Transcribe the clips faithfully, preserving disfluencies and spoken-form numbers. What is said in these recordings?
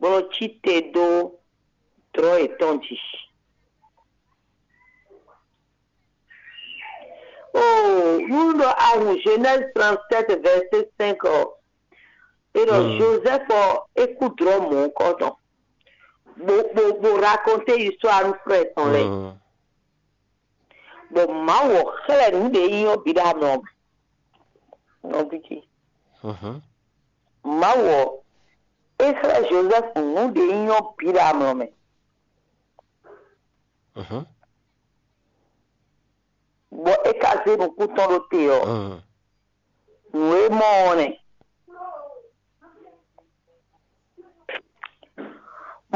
bó nɔ́ cí te dó dlɔ́ yětɔn jí. Oo, nú ɖɔ a hun Genèse trente-sept, verset cinq ɔ́, é ɖɔ Joseph ɔ́, é kú dlɔ́ mɔ̌hunkɔtɔn, bó bó bó raconter histoire nú frère tɔn lɛ́ɛ. Bɔ Mawu ɔ́ xlɛ́ nǔ ɖě nyí ɔ́ bǐ ɖo amlɔ mɛ. Nɔví ce, Mawu ɔ́, é xlɛ́ Jozɛ́fu nǔ ɖě nyí ɔ́ bǐ ɖo amlɔ mɛ, bɔ é ka zé nukún tɔn ɖó te ɔ́, nǔ e mɔ ɔ́ nɛ́.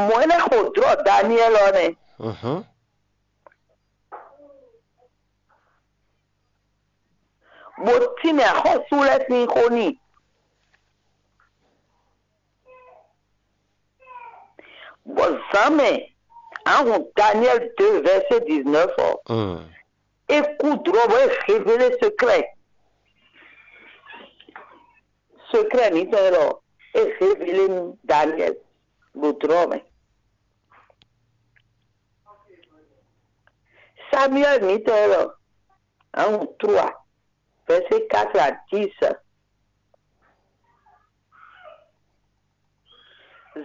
Mɔ̌ é lɛ́ xo dlɔ̌ Daniɛ́li ɔ́ nɛ́. Bó tínmɛ axɔ́sú lɛ́ɛ sín xó n'i. Bɔ zǎnmɛ, a hun Daniel deux, verset dix-neuf ɔ́, é kú dlɔ̌ bɔ é révélé secret. Secret mǐtɔn élɔ́, é révélé nú Daniel ɖo dlɔ̌ mɛ. Samuel mǐtɔn élɔ́, a hun trois, verset quatre à dix.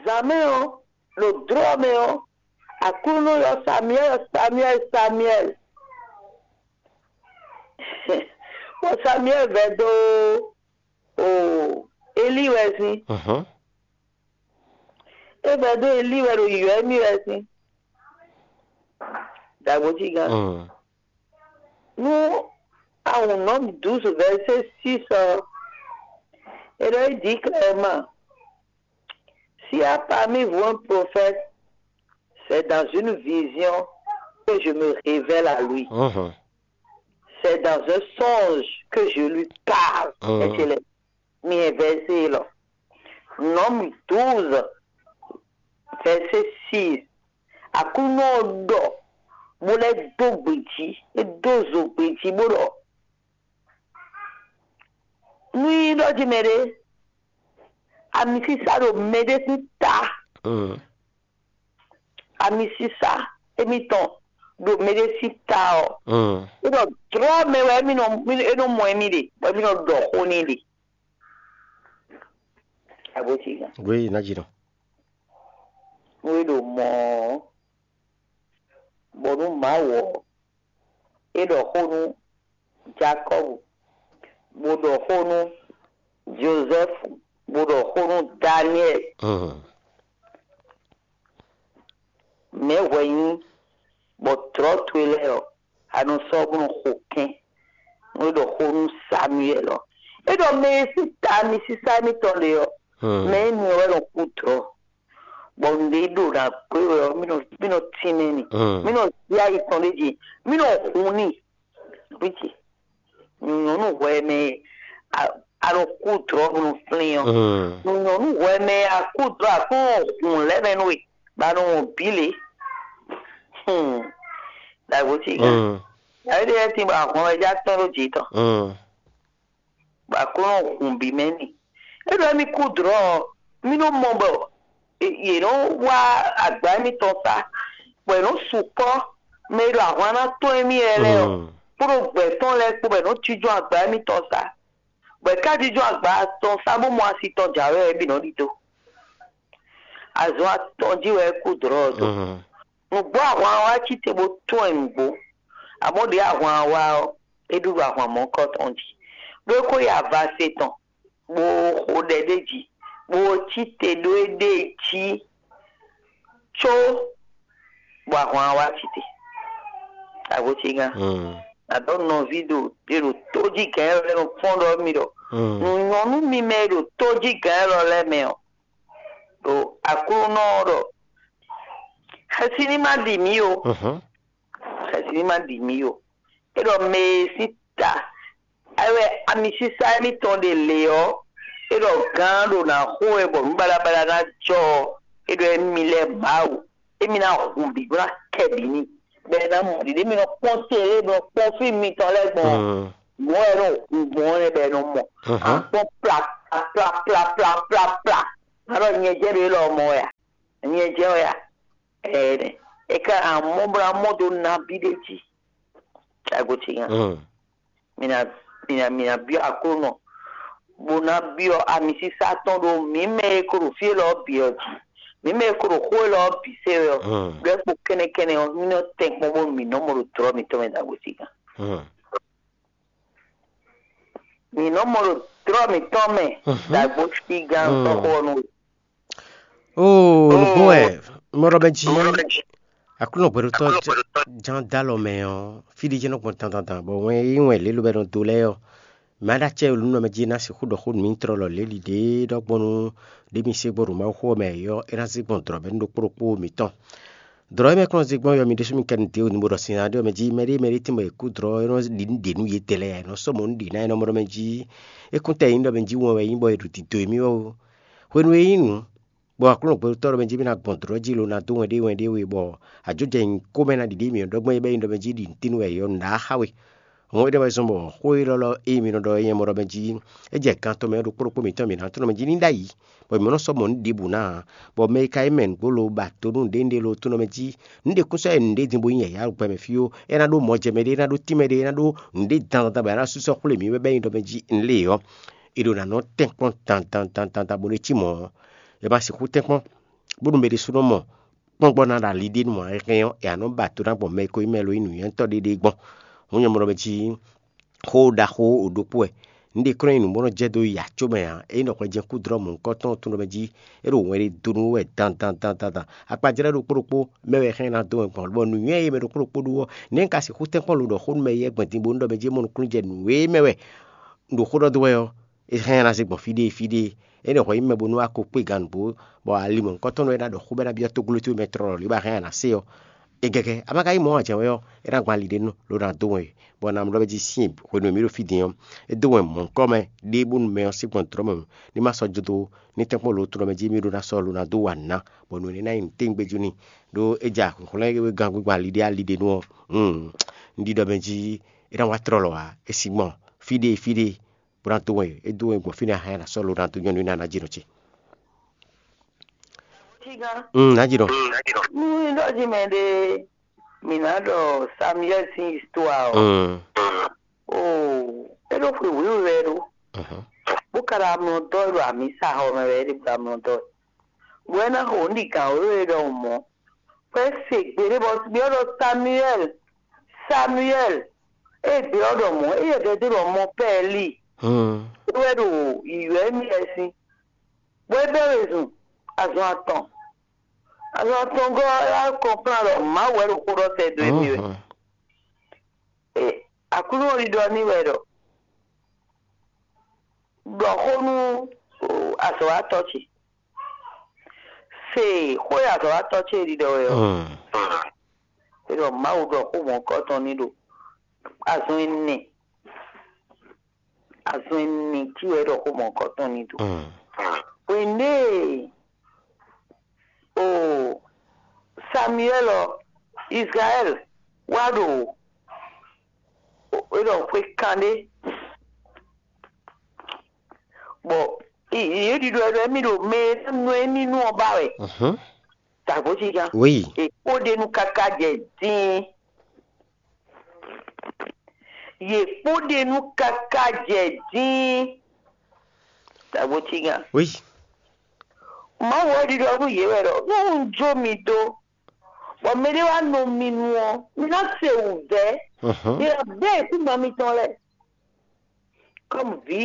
Zǎnmɛ ɔ́, ɖo dlɔ̌ mɛ ɔ́, Aklúnɔ ylɔ́ Samuel, Samuel, Samuel. Bɔ Samuel vɛ́ dó o Eli wɛ sín. É vɛ́ dó Eli wɛ ɖo yɔ̌ émí wɛ sín. Dǎgbó cí gán. Nú a hun Nɔ́m douze, verset six ɔ́, é ɖɔ é dit clairement: S'il y a parmi vous un prophète, c'est dans une vision que je me révèle à lui. C'est dans un songe que je lui parle. Ecele, mi hɛn vɛsé élɔ́. Nɔ́m douze, vɛsé six. Aklúnɔ ɔ́ ɖɔ, bó lɛ́ dó gbe jí, é dó zo gbe jí bó ɖɔ: Nú nyí ɖɔ jí mɛɖé, amisísá ɖo mɛɖé sín ta. Amisísá émítɔn ɖo mɛɖé sín ta ɔ́, é ɖɔ dlɔ́ mɛ wɛ émí nɔ, é nɔ mɔ émí ɖe, bɔ émí nɔ ɖɔ xó n'i ɖe. Abǒsígan. Oui, ná jí nɔ. Nú é ɖo mɔ̌ ɔ́, bɔ nú Mawu ɔ́, é ɖɔ xó nú Jakɔ́bu, bó ɖɔ xó nú Jozɛ́fu, bó ɖɔ xó nú Daniɛ́li. Mɛ̌ hwɛ nyí bɔ dlɔ̌ towe lɛ́ɛ ɔ́, a nɔ sɔ́ bó nɔ xo kɛ́n? Nú é ɖɔ xó nú Samuɛ́li ɔ́, é ɖɔ mɛ e sín ta amisísá émítɔn ɖe ɔ́, mɛ énɛ́ ɔ́ wɛ nɔ kú dlɔ̌, bɔ nǔɖé ɖo ná gbé wɛ ɔ́, mí nɔ mí nɔ tínmɛ n'i, mí nɔ zí ayi tɔn ɖ'é jí, mí nɔ hun n'i. Nɔví ce, nyɔ̌nu hwɛ mɛ a nɔ kú dlɔ̌ bó nɔ flín ɔ́, nyɔ̌nu hwɛ mɛ a kú dlɔ̌ a kún nɔ hun lɛ́ mɛ nú we, bɔ a nɔ wɔn bǐ lě. Dǎgbó ce gán. Yǎyí ɖé lɛ́ɛ tín bɔ ahwan wɛ já tɔ́n ɖó jǐ tɔn, bɔ a kún nɔ hun bǐ mɛ n'i. É ɖɔ émí kú dlɔ̌ ɔ́, mí nɔ mɔ bɔ yě nɔ wá agbǎ émítɔn sá, bɔ è nɔ sukpɔ́ mɛ e ɖo ahwan ná tɔ́n émí lɛ́ɛ lɛ́ɛ ɔ́, kpódó gbɛ̌ tɔn lɛ́ɛ kpó, bɔ è nɔ jínjɔ́n agbǎ émítɔn sá, bɔ è ká jínjɔ́n agbǎ tɔn sá bó mɔ asi tɔn jǎwe ɔ́, é bǐ nɔ ɖidó. Azɔn atɔn jí wɛ é kú dlɔ̌ ɔ́ dó. Nǔgbó ahwan ɔ́ wá cí te bó tún ɛ nǔgbó, amɔ̌ ɖě ahwan ɔ́ wá ɔ́, é ɖu ɖo ahwan mɔ̌kɔ tɔn jí, ɖó é ko yi avase tɔn, bó xo ɖɛ ɖ'é jí, bó cí te ɖó éɖée jí có, bɔ ahwan ɔ́ wá cí te. Agbócígán, àdó nɔví ɖo è ɖo tójígǎn élɔ́ lɛ́ɛ nɔ kpɔ́n ɖɔ mì ɖɔ nǔ nyɔ́ nú mi mɛ e ɖo tójígǎn élɔ́ lɛ́ɛ mɛ ɔ́, ɖo Aklúnɔ ɔ́ ɖɔ xɛsi ní ma ɖi mǐ ó. Xɛsi ní ma ɖi mǐ ó. É ɖɔ mɛ e sín ta é wɛ amisísá émítɔn ɖe lě ɔ́, é ɖɔ gǎn ɖo nǎ xo wɛ bɔ nǔ baɖabaɖa ná jɔ ɔ́, é ɖɔ émí lɛ́ɛ Mawu, émí ná hun bǐ bó ná kɛ bǐ n'i, bɔ é ná mɔ ɖiɖe mì nɔ kpɔ́n télé, mì nɔ kpɔ́n fí mitɔn lɛ́ɛ gbɔn mɔ̌ wɛ nɔ hun gbɔn ɔ́ nɛ́ bɔ é nɔ mɔ. A kpɔ́n pla pla pla pla pla pla. A ɖɔ nyɛ jɛ ɖo élɔ́ mɔ wɛ a? Nyɛ jɛ wɛ a? Ɛɛ, e ka amɔ bla mɔ do nabi ɖe jí. Agotinya. Mm. Mina mina mina biɔ Aklúnɔ. Bo ná biɔ amisísá tɔn ɖo mǐ mɛ e ko ɖo fí élɔ́ bǐ ɔ́ jí. Mǐ mɛ e ko ɖo xó élɔ́ bǐ se wɛ ɔ́. Mm. Ɖɔ kpo kɛnɛkɛnɛ ɔ́, mí nɔ tɛn kpɔ́n bónú mǐ nɔ mɔ ɖo tlɔ́ mǐtɔn mɛ ɖo agotinya. Mm. Mǐ nɔ mɔ ɖo tlɔ́ mǐtɔn mɛ. Mhm. Ɖagbo sí gán Mm. Tɔ́xo ɔ́ nú we. Oo, nǔgbó wɛ mɔɖɔ mɛ jí Aklúnɔ gbɛɖotɔ́ ján dó alɔ mɛ ɔ́, fí ɖé jɛ́n nɔ gbɔn dandandan, bɔ wɛn e nyí wɛn lě lobɛ nɔ do lɛ́ɛ ɔ́, mɛ aɖa acɛ e nǔ mɛ jí ná sixú ɖɔ xó nú mì tlɔlɔ lě ɖiɖe ɖɔgbɔ́nú ɖé mi se gbɔn ɖo Mawuxó ɔ́ mɛ ɔ́, é ná zé gbɔn dlɔ̌ mɛ nú ɖokpó ɖokpó mǐtɔn. Dlɔ̌ e mɛ kplɔ́n zé gbɔn ɔ́, mi ɖésú mi kɛ nu dě wǔ ní bo ɖɔ sin ná ɖé ɔ́ mɛ jí mɛɖé mɛɖé tínbɔ è kú dlɔ̌ é nɔ ɖi nǔ ɖě nú yědɛɛ lɛ́ɛ ǎ, è nɔ sɔ́ mɔ̌ nú ɖě ná é nɔ mɔ ɖɔ mɛ jí é kún tɛ nyí ɖɔ mɛ jí wɛn wɛ é nyí bɔ è ɖo dǐdó émí wɛ ó. Hwenu e é nyí nǔ, bɔ Aklúnɔ gbɛɖotɔ́ ɖɔ mɛ jí mì ná gbɔn dlɔ̌ jí lo ná dó wɛn ɖé wɛn ɖé we bɔ ajɔ̌ jɛ nyǐkó mɛ ná ɖiɖi mì ɔ́ ɖɔgbɛ́n é bɛ́ nyí ɖɔ mɛ jí ɖi nǔ tín wɛ è ɔ́ nǔ ɖá xá we. Hɔn é ɖɔ wɛ zɔn bɔ xó élɔ́ lɔ e mi nɔ ɖɔ é nyɛ mɔ ɖɔ mɛ jí é jɛ gan tɔn mɛ ɔ́ ɖokpó ɖokpó mǐtɔn mǐ ná tunɔ mɛ jí ní ɖ'ayǐ, bɔ mǐ nɔ sɔ́ mɔ nǔ ɖěbǔ ná ǎ, bɔ mɛ e ka nyí mɛ nǔgbó lo ba do nú nǔɖé nǔɖé lo tunɔ mɛ jí nǔɖé kún sɔ́ yɛ nǔɖé din bó nyí yǎyá gbɛ mɛ fí ó, é ná ɖó mɔ jɛ mɛɖé, é ná ɖó tín mɛɖé, é ná ɖó nǔɖé dandan bɔ é ná sú sɔ́ xwlé mǐ wɛ bɔ é nyí ɖɔ mɛ jí un lé ɔ́, è ɖo ná nɔ tɛ́nkpɔ́n dandan dandan bó nɔ cí mɔ̌ ɔ́, è ma sixú tɛ́nkpɔ́n bónú mɛ ɖésúnɔ mɔ kpɔ́n gbɔ ná ɖo ali ɖé nú ǎ, é hɛn ɔ́, è nǎ nɔ ba do ná gbɔn mɛ e ko nyí mɛ lo nyí nǔnywɛ́tɔ́ ɖé ɖé gbɔn. Hǔn nyɛ mɔ ɖɔ mɛ jí xó ɖaxó ɖokpó wɛ. Nǔɖé klɔ́n nyi nǔ bó nɔ jɛ dó yi acó mɛ ǎ. Ényí ɖɔ hwɛ jɛ́n kú dlɔ́ mɔ̌hunkɔtɔn ɔ́ tunɔ mɛ jí é ɖo wɛn ɖé dó nú wɛ dan dan dan dan dan. Akpajlɛ́ ɖokpó ɖokpó mɛ wɛ hɛn ná dó wɛn gbɔn, bɔ nǔnywɛ́ e mɛ ɖokpó ɖokpó ɖó ɔ́, nɛ̌ un ka sixú tɛ́nkpɔ́n lo ɖɔ xó nú mɛ éyɛ́ gbɔn din bónú ɖɔ mɛ jí é mɔ nukúnnú jɛ nǔ e mɛ wɛ un ɖo xó ɖɔ dó wɛ ɔ́, é hɛn ná zé gbɔn fí ɖé fí ɖé. Ényí ɖɔ hwɛ nyí mɛ bónú wá ko kpé gǎn nǔgbó, bɔ ali mɔ̌hunkɔtɔn lɛ́ɛ ná ɖɔ xó bɔ é ná byɔ́ tógló towe mɛ tlɔlɔ lě ba hɛn ná se ɔ́, é gɛgɛ. A ma ka nyí mɔ̌ ǎ jɛ́n wɛ ɔ́, é ná gbɔn ali ɖé nú lo ná dó wɛn, bɔ ná mlɔ́ mɛ jí sín hwenu e mǐ ɖo fí din ɔ́, é dó wɛn mɔ̌hunkɔ mɛ ɖěbǔ nú mɛ ɔ́ sín gbɔn dlɔ̌ mɛ ní ma sɔ́ jó dó ní tɛ́nkpɔ́n lo tlɔ mɛ jí mì ɖó ná sɔ́ lo ná dó wa nǔ ná, bɔ nǔ énɛ́ ná nyí nǔtɛ́ngbéjú n'i, ɖó é ja hwǐnhwlɛ́n gán gbígbɔn ali ɖé ali ɖé nú ɔ́. Un ɖiɖɔ mɛ jí é ná wá tlɔlɔ ǎ, é sín gbɔn fí ɖé fí ɖé, bó ná dó wɛn é dó wɛn gbɔn fínɛ́ a hɛn ná sɔ́ lo ná dó nyɔ́ nú ná ná jínɔ ce. Ná jínɔ. Nú ɖɔ jí mɛ ɖé mǐ ná ɖɔ Samuel sín histoire ɔ́, oo, é ɖo xwe wěwe wɛ ɖó, bó ka ɖo amlɔ dɔ́ wɛ ɖo amǐsa xɔ mɛ wɛ é ɖe bó ɖo amlɔ dɔ́ wɛ, bó wɛ ná xo nǔ ɖi gǎn wěwe ɖɔhun mɔ̌, bɔ é se gbe ɖé bɔ byɔ́ ɖɔ Samuel, Samuel, é gbe ɔ́ ɖɔ mɔ̌, éyɛ́ ɖɛdó ɖɔ mɔ pɛ́ Eli, é wɛ ɖo yǐyɔ́ émí lɛ́ɛ sín, bɔ é bɛ́ wezun azɔn atɔn. Azɔn atɔngɔ́ ɔ́ wá kɔnplán ɖɔ Mawu wɛ ɖo xó ɖɔ sɛ́ dó émí wɛ. Aklúnɔ ɖiɖɔ n'i wɛ ɖɔ, ɖɔ xó nú azɔ̌watɔ́ ce. Se xó e azɔ̌watɔ́ ce ɖiɖɔ wɛ ɔ́, é ɖɔ Mawu ɖɔ xó mɔ̌hunkɔtɔn n'i ɖo azɔn ɛnɛ, azɔn ɛnɛ jí wɛ é ɖɔ xó mɔ̌hunkɔtɔn n'i ɖo. Hwenu e o Samuɛ́l ɔ́, Izlayɛ́li wá ɖo é ɖɔ xwe kanɖé, bɔ yě ɖiɖɔ ɖɔ émí ɖo mɛ e nɔ émí nu ɔ́ ba wɛ. Dǎgbójínján. Oui. È kpó ɖ'é nu káká jɛ dín. Yě kpó ɖ'é nu káká jɛ dín. Dǎgbójínján. Oui. Mawu ɔ́ ɖiɖɔ nú yě wɛ ɖɔ nú un jó mi dó, bɔ mɛɖé wá nɔ mi nu ɔ́, mi ná se wǔvɛ́. Mi ná bɛ́ ayǐkúngban mitɔn lɛ́ɛ. Kɔ́mu vǐ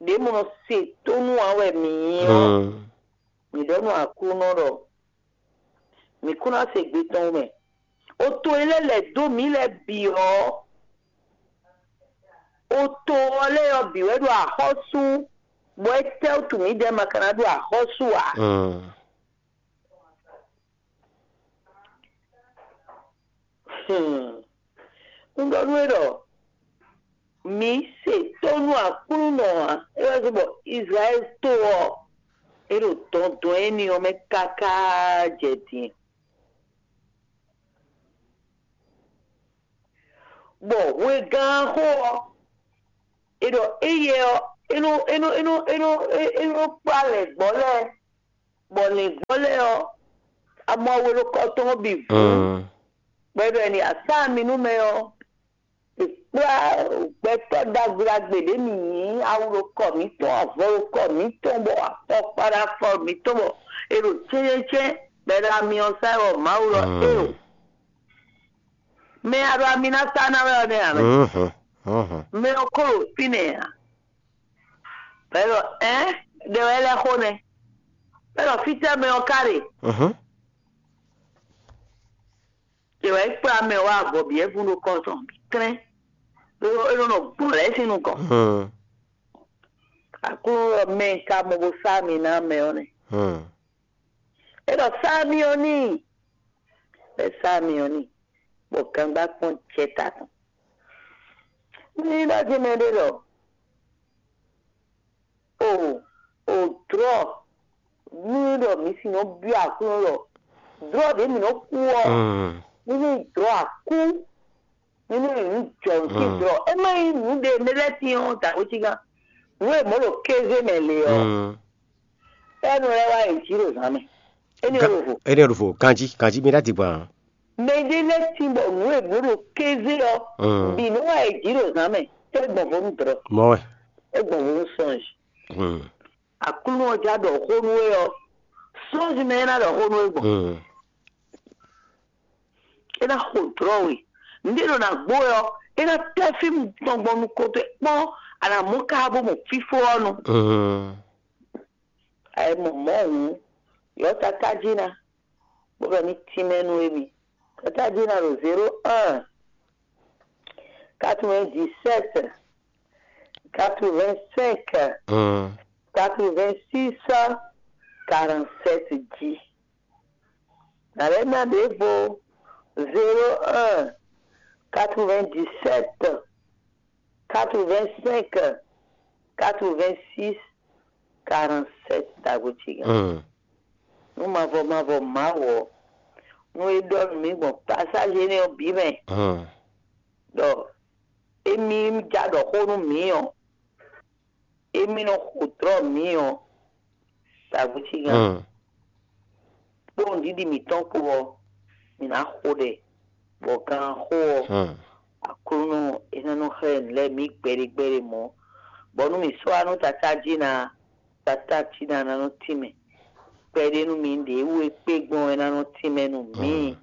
ɖě mɔ nɔ se tónú ǎ wɛ mǐ nyí ɔ́, mǐ ɖɔ nú Aklúnɔ ɖɔ mǐ kún ná se gbe tɔn mɛ. O to e lɛ́ lɛ̌ dó mǐ lɛ́ɛ bǐ ɔ́, o to ɔ́ lɛ́ɛ ɔ́ bǐ wɛ ɖo axɔ́sú, bɔ étɛ́ wútu mǐdɛɛ ma ka ná ɖo axɔ́sú ǎ? Un ɖɔ nú we ɖɔ mǐ se tónú Aklúnɔ ǎ. É wɛ zɔ́n bɔ Izlayɛ́li to ɔ́, é ɖo dɔndɔn énɛ́ ɔ́ mɛ káká jɛ din. Bɔ hwegán xó ɔ́, é ɖɔ éyɛ́ ɔ́, é nɔ é nɔ é nɔ é nɔ é nɔ kplá lɛ̌ngbɔ́ lɛ́ɛ Bɔ lǐngbɔ́ lɛ́ɛ ɔ́, amɔ awe ɖo kɔ tɔn ɔ́ bǐ vú. Bɔ é ɖɔ è nǐ asá mi nú mɛ ɔ́, è kplá gbɛtɔ́ ɖagbe ɖagbe ɖě mǐ nyí awu ɖo kɔ mǐtɔn, avɔ ɖo kɔ mǐtɔn, bɔ afɔkpa ɖo afɔ mǐtɔn, bɔ è ɖo cɛ́cɛ́cɛ́, bɔ è ɖo amyɔ sá wɛ, bɔ Mawu ɖɔ éeǒ. Mɛ e a ɖo ami ná sá ná wɛ ɔ́ nɛ́ ǎ mɛ. Mɛ ɔ́ ko ɖo fínɛ́ ǎ. Bɔ é ɖɔ ɛ̌n, ɖe wɛ é lɛ́ xo nɛ́. Bɔ é ɖɔ fítɛ́ mɛ ɔ́ ka ɖe? Ɖe wɛ é kplá mɛ wá abɔ̌byɛ́vú ɖo kɔ tɔn bǐ tlɛ́n, ɖó é nɔ nɔ gbɔn lɛ̌ sín nukɔn. Aklúnɔ ɖɔ mɛ e ka mɔ bó sá ami ná mɛ ɔ́ nɛ́. É ɖɔ sá ami ɔ́ n'i, bɔ é sá ami ɔ́ n'i, bɔ gangba kpɔ́n jɛ ta tɔn. Ní ɖɔ jí mɛ ɖé ɖɔ o o drɔ̌, ní ɖɔ mǐ si nɔ byɔ́ Aklúnɔ ɖɔ drɔ̌ ɖě mǐ nɔ kú ɔ́, ní ní drɔ̌ akú, ní ní nyí nǔ jɔ nǔ sín drɔ̌. É má nyí nǔ ɖé mɛ lɛ́ɛ tín ɔ́, dǎ xwé cígán. Nǔ e mɔ̌ ɖo kéze mɛ le ɔ́, Ɛ́nɔ lɛ́ɛ wá yi jǐ ɖo zǎn mɛ. Énɛ́ ɔ́ ɖo vo. Énɛ́ ɔ́ ɖo vo. Ganjí, ganjí mi ɖá digban. Mɛ ɖé lɛ́ɛ tín bɔ nǔ e blǒ ɖo kéze ɔ́, bǐ nɔ wá yi jǐ ɖo zǎn mɛ. É gbɔn vo nú drɔ̌. Mɔ wɛ. É gbɔn vo nú sɔ́nji. Aklúnɔ ɔ́ já ɖɔ xó nú we ɔ́, sɔ́nji mɛ é ná ɖɔ xó nú we gbɔn. É ná xo drɔ̌ we. Nǔɖé ɖo ná gbó wɛ ɔ́, é ná tɛ́ fí tɔn gbɔn nukɔn towe kpɔ́n, a nǎ mɔ ká bó mɔ fífó ɔ́ nu. A yi mɔ mɔ̌ hǔn, ylɔ́ Tatá jí ná, bó ɖɔ ní tínmɛ nú émí. Tatá jí ná ɖo zéro un, quatre-vingt-dix-sept, quatre-vingt-cinq, quatre-vingt-six, quarante-sept jí. Nǎ lɛ́ ná ɖěvo zéro un, quatre-vingt-dix-sept, quatre-vingt-cinq, quatre-vingt-six, quarante-sept, dǎgbó ce gán. Nú mavɔ mavɔ Mawu ɔ́, nú é ɖɔ nú mì gbɔn pasázi énɛ́ ɔ́ bǐ mɛ, ɖɔ émí ja ɖɔ xó nú mǐ ɔ́, émí nɔ xo dlɔ̌ mǐ ɔ́, dǎgbó ce gán. Kpó nǔɖiɖi mǐtɔn kpó ɔ́, mǐ ná xo ɖɛ, bɔ ganxó ɔ́, Aklúnɔ é ná nɔ xlɛ́ nǔ lɛ́ɛ mǐ gbɛɖe gbɛɖe mɔ̌, bɔ nú mǐ sɔ́ wá nú Tatá jí ná, Tatá jí ná ná nɔ tínmɛ. Kpɛɖé nú mǐ ɖě wú é kpé gbɔn é ná nɔ tínmɛ nú mǐ.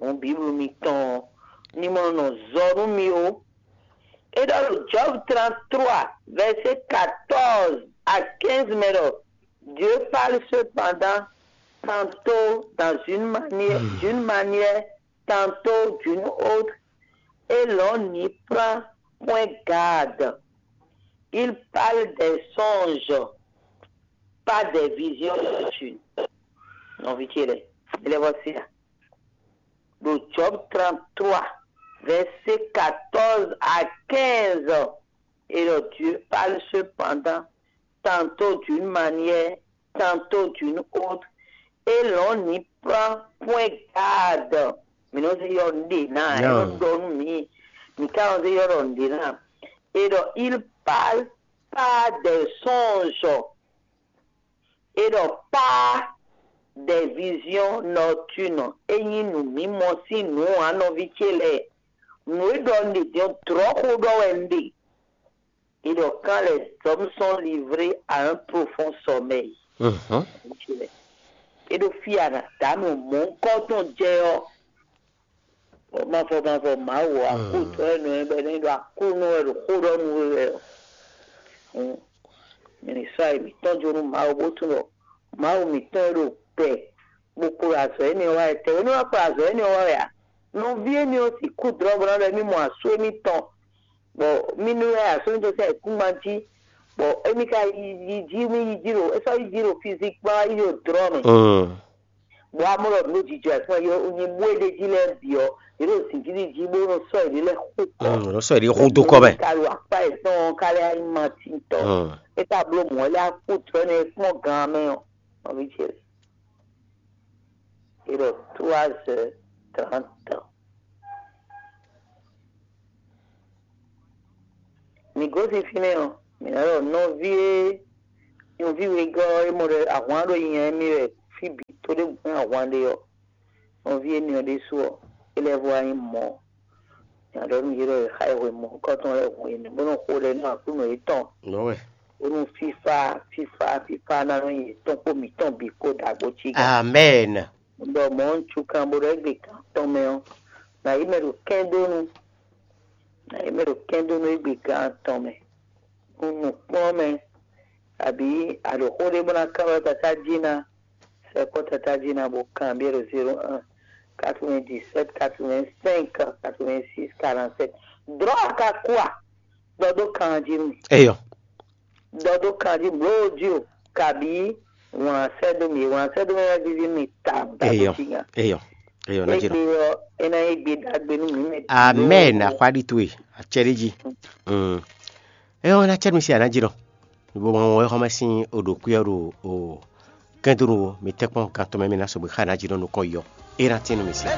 Hǔn Bíblu mitɔn ɔ́ ní mɔ nɔ zɔ nú mì ó. É ɖɔ ɖo Job trente-trois, verset quatorze à quinze mɛ ɖɔ Dieu parle cependant tantôt dans une manière, d'une manière, tantôt d'une autre, et l'on n'y prend point garde. Il parle des songes, pas des visions nocturnes. Nɔví ce lɛ́ɛ, mi lɛ́ vɔ sí a? Ɖo Job trente-trois, verset quatorze à quinze, et le Dieu parle cependant tantôt d'une manière, tantôt d'une autre, et l'on n'y prend point garde. Mǐ nɔ zé yɔ nǔɖé ná, é nɔ ɖɔ nú mǐ, mǐ ka nɔ zé yɔ ɖɔ nǔɖé ná. Et donc, il parle pas des songes, et donc pas des visions nocturnes. É nyí nǔ mímɔ sín nǔ ǎ, nɔví ce lɛ́ɛ. Nǔ e ɖɔ un ɖe din ɔ́, dlɔ̌xo ɖɔ wɛ un ɖe. Et donc, quand les hommes sont livrés à un profond sommeil, é ɖo fí a nǎ dǎ nǔ mɔ̌hunkɔtɔn jɛ ɔ́, mavɔ mavɔ Mawu ɔ́, akútɔ́ wɛ nɔ ɛ bɔ é nɔ ɖo Aklúnɔ wɛ ɖo xó ɖɔ nú we wɛ ɔ́. Hǔn, mi ní sɔ́ ayi mǐtɔn jó nú Mawu bó tunwun ɖɔ Mawu mǐtɔn e ɖo gbɛ bó kplɔ́n azɔ̌ énɛ́ ɔ́ wá wɛ. Tɛ̌ é nɔ wá kplɔ́n azɔ̌ énɛ́ ɔ́ wá wɛ ǎ? Nɔví énɛ́ ɔ́ sixú dlɔ́ bó ná ɖɔ émí mɔ asú émítɔn, bɔ mí nú wɛ asú émítɔn sín ayǐkúngban jí, bɔ émí ka yi yi jí, mí yi jí ɖo, é sɔ́ yi jí ɖo fizikpán, yi ɖo dlɔ́ mɛ. Bɔ amɔ́ ɖɔ nǔ jijɔ ɛ fún ɛ, nyi bó e ɖ'é jí lɛ́ɛ bǐ ɔ́, yě ɖo zǐngídi jí bó nɔ sɔ́ yěɖée lɛ́ɛ xú kɔ. Nɔ sɔ́ yěɖée xú dó kɔ mɛ. Ka ɖo akpá yětɔn ka lɛ́ nyí Matín tɔn. É ka bló mɔ̌ lɛ́ɛ akú tɔ́ énɛ́ kpɔ́n gan mɛ ɔ́, nɔví ce. È ɖɔ trois heures trente. Mǐ gosín fínɛ́ ɔ́, mǐ ná ɖɔ nɔví e Nyɔ̌ví wegɔ́ ɔ́, é mɔ ɖɔ ahwan ɖo nyɛ émí wɛ fí bǐ, to ɖé gbɔn ahwan ɖe ɔ́, nyɔ̌ví énɛ́ ɔ́ ɖésú ɔ́, é lɛ́ vɔ wá nyí mɔ̌. Nya ɖɔ nú yě ɖɔ è xa ɛ hwemɔ̌kɔ́tɔn lɛ́ɛ hun énɛ́, bó nɔ́ xo ɖɛ nú Aklúnɔ yětɔn, Nɔwe. Bónú fífá, fífá, fífá ná nɔ nyi yětɔn kpó mǐtɔn bǐ kpó ɖagbo cí gán. Amɛn. Ɖɔ mɔ̌ un cúkan bó ɖɔ égbé gán tɔn mɛ ɔ́, nǎ yi mɛ ɖo kɛ́ndónú, nǎ yi mɛ ɖo kɛ́ndónú égbé gán tɔn mɛ. Nú nǔkplɔ́nmɛ, abǐ a ɖo xó ɖé bó ná kán wɛ tatá jí ná, sɛkpɔ́ tatá jí ná bó kanbyɔ́ ɖo zéro un, quatre-vingt-dix-sept, quatre-vingt-cinq, quatre-vingt-six, quarante-sept. Drɔ̌ a ka kú a? Ɖɔ dó kan jí nú mì. Eyɔ. Ɖɔ dó kan jí blǒ jí o, kabǐ wǎn sɛ́ dó mì, wǎn sɛ́ dó mì wɛ víví mì ta Eyɔ. Jí nya. Eyɔ. Eyɔ, ná jí nɔ. Égbé ɔ́, é ná nyí égbé ɖagbe nú mǐ mɛ. Amɛn. Axwá ɖi towe, acɛ ɖi jí. Mm. Eyɔ, ná cɛ mi si aná jí nɔ. Bo ma wɔn xɔmɛ sín o ɖo kwíyɔ ɖo o kɛndonu wo, mi tɛkpɔn kan tɔn mɛ mi ná sɔgbe xa ná jí nɔ nukɔn yɔ. É ná tín nú mi sí.